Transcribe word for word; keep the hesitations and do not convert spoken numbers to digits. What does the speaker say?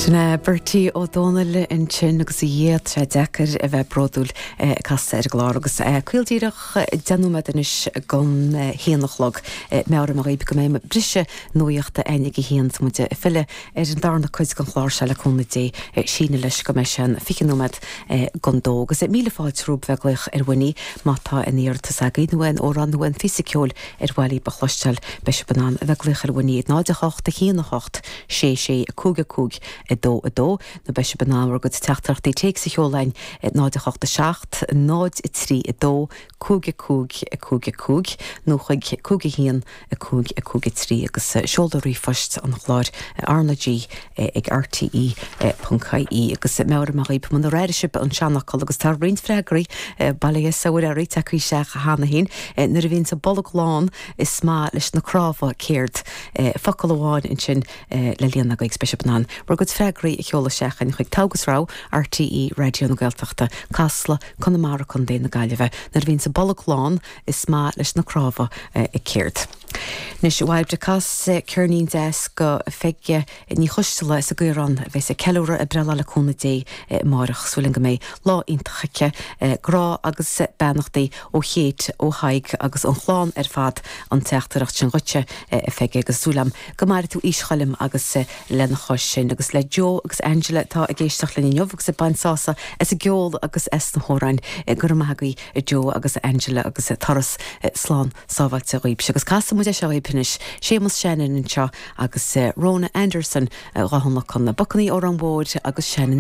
Sin é Bertie Ó Dónaill ansin agus a dhéad sé deacair a bheith bródúil casta ar an gclár agus caol díreach deich nóiméad anois don haon a chlog meabhraím dhaoibh go mbeidh briseadh nuachta againn ag a haon muid ag filleadh ar an darna cuid den chlár seo le cúnamh Dé síneadh leis go mbeidh sé an fiche nóiméad don dó agus míle fáilte romhaibh bheith ag glaoch ar Winnie má tá aon iarratas agaibh nó aon amhrán nó aon phíosa ceoil ar mhaith libh a chloisteáil beidh sibh in ann a bheith ag glaoch ar Winnie náid a hocht a haon a hocht sé sé a cúig a cúig a dó a dó nó beidh sibh in ann bhur gcuid teachtaireachtaí téacs a sheoladh náid a hocht a seacht náid a trí a dó cúig a cúig a cúig a cúig nó chuig cúig a haon a cúig a cúig a trí agus seoladh ríomhphoist an chláir RnaG ag RTE ponc IE agus meabhraím dhaoibh munar airigh sibh an seanfhocal agus tá roinnt freagraí bailithe saoirí te seach cheana féin nuair a bhíonn sa bolg lán is maith leis na cnámha céard focal amháin ansin le líonadh agaibh beidh sibh in ann bhur gcuid freagraí a sheoladh isteach chuig Togha is Rogha RTE Raidió na Gaeltachta Casla Conamara Contae na Gaillimhe nuair a bhíonn sa bolg lán is maith leis na cnámha céard. Anois bhaid cas ceirnín deas do Pheige Ní Choisteala sa gCaorán bheas ag ceiliúradh a breithlá le cúnamh Dé amárach súil go mbeidh lá iontach aici grá agus beannachtaí ó Chéit ó Thaidhg agus an chlann ar fad an teachtaireacht sin dhuitse a Pheige agus súil agam go mairfidh tú aois Choilm agus lena chois sin agus le Joe agus Angela tá ag éisteacht linn inniu agus ag baint sásamh as an gceol agus as na hamhráin go raibh maith agaibh Joe agus Angela agus turas slán sábháilte dhaoibh agus casfaidh muid é seo anois Séamus Shannon anseo agus Rona Anderson dhá chun na Bucannaí Órán Mhóir agus Shannon